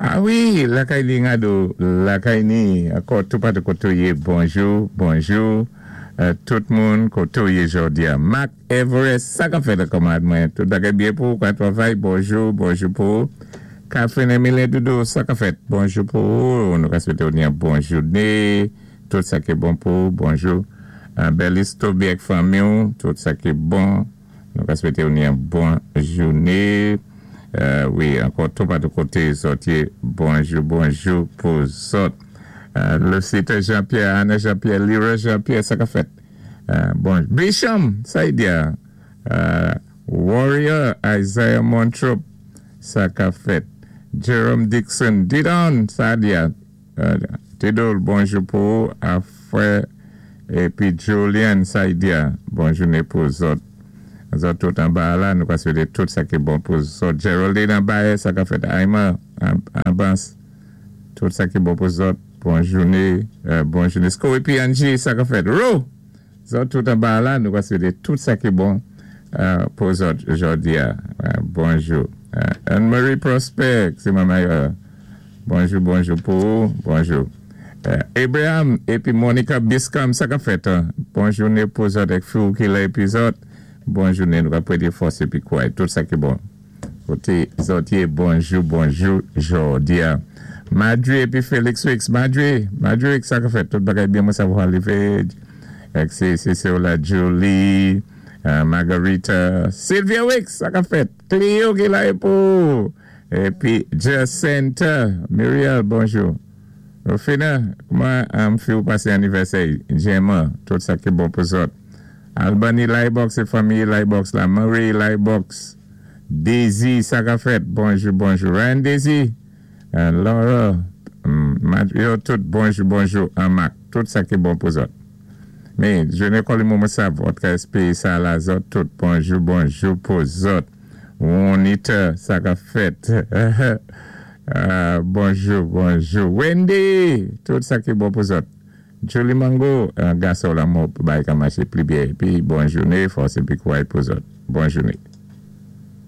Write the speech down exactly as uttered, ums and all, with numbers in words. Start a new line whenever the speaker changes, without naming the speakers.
Ah wi, lakay ni Ngado, lakay ni, ankò tou patou koté ou yé, bonjou, bonjou, euh, tout moun koté ou yé jòdi-a. Mark Everest, sa ka fèt kanmarad mwen, tout bagay byen pou ou, ka twavay, bonjou, bonjou pou ou. Catherine Emile Doudou, sa ka fèt, bonjou pou ou, nou ka swété ou ni yon bon jouné, tout sa ki bon pou ou, bonjou. Euh, Belis Toby ak fanmi ou, tout sa ki bon, nou ka swété ou ni yon bon jouné. Euh, wi, ankò tou patou koté zòt yé, bonjou, bonjou pou zòt. Euh, Lucita Jean-Pierre, Anna Jean-Pierre, Lyra Jean-Pierre, sa ka fèt. Euh, bon, Bisham, sa y di a. Euh, Warrior, Isaiah Montrop, sa ka fèt. Jerome Dixon, Didon, sa di a. Euh, Tidol, bonjou pou ou, Afrè, épi Julian, sa y di a. Bon jouné pou zòt. Zòt tout anba la, nou ka swété tout sa ki bon pou zòt. Geraldine anba, sa ka fèt. Aïma, Ambans, tout sa ki bon pou zòt. Bon jouné, euh, bon jouné. Sko épi Angie, sa ka fèt. Ro! Zòt tout anba la, nou ka swété tout sa ki bon euh, pou zòt jòdi-a. Euh, bonjou. Euh, Anne-Marie Prosper, sé manman euh, bonjou, bonjou pou ou, bonjou. Euh, Abraham épi Monica Biscam, sa ka fèt. Hein? Bon jouné pou zòt ak fi ki la épi zòt. Bon jouné, nou ka pwété fòs épi kouway, tout sa ki bon. Koté zòt yé, bonjou, bonjou, jòdi-a. Madri épi Félix Wix, Madri, Madri Wix, sa ka fèt, tout bagay byen mwen savwa livé. Ek sé, sé sé la Julie, euh, Margarita, Sylvia Wix, sa ka fèt, Cleo ki la pou, épi Jacinta, Muriel, bonjou. Rufina, kouman um, fi ou pasé anivèsè, Gemma, tout sa ki bon pou zòt. Albany Libox é fanmi Libox la, Marie Libox, Daisy, sa ka fèt, bonjou, bonjou. Ryan Daisy, euh, Laura, um, yo tout bonjou, bonjou, an mak, tout sa ki bon pou zòt. Men, jouné kòli mwen sav, òt ka éspéwé sa la zòt, tout bonjou, bonjou pou zòt. Juanita, sa ka fèt. uh, bonjou, bonjou. Wendy, tout sa ki bon pou zòt. Julie Mango, uh, gason la mò bay ka maché pli byen. Épi bon jouné, fòs épi kouway pou zòt. Bon jouné.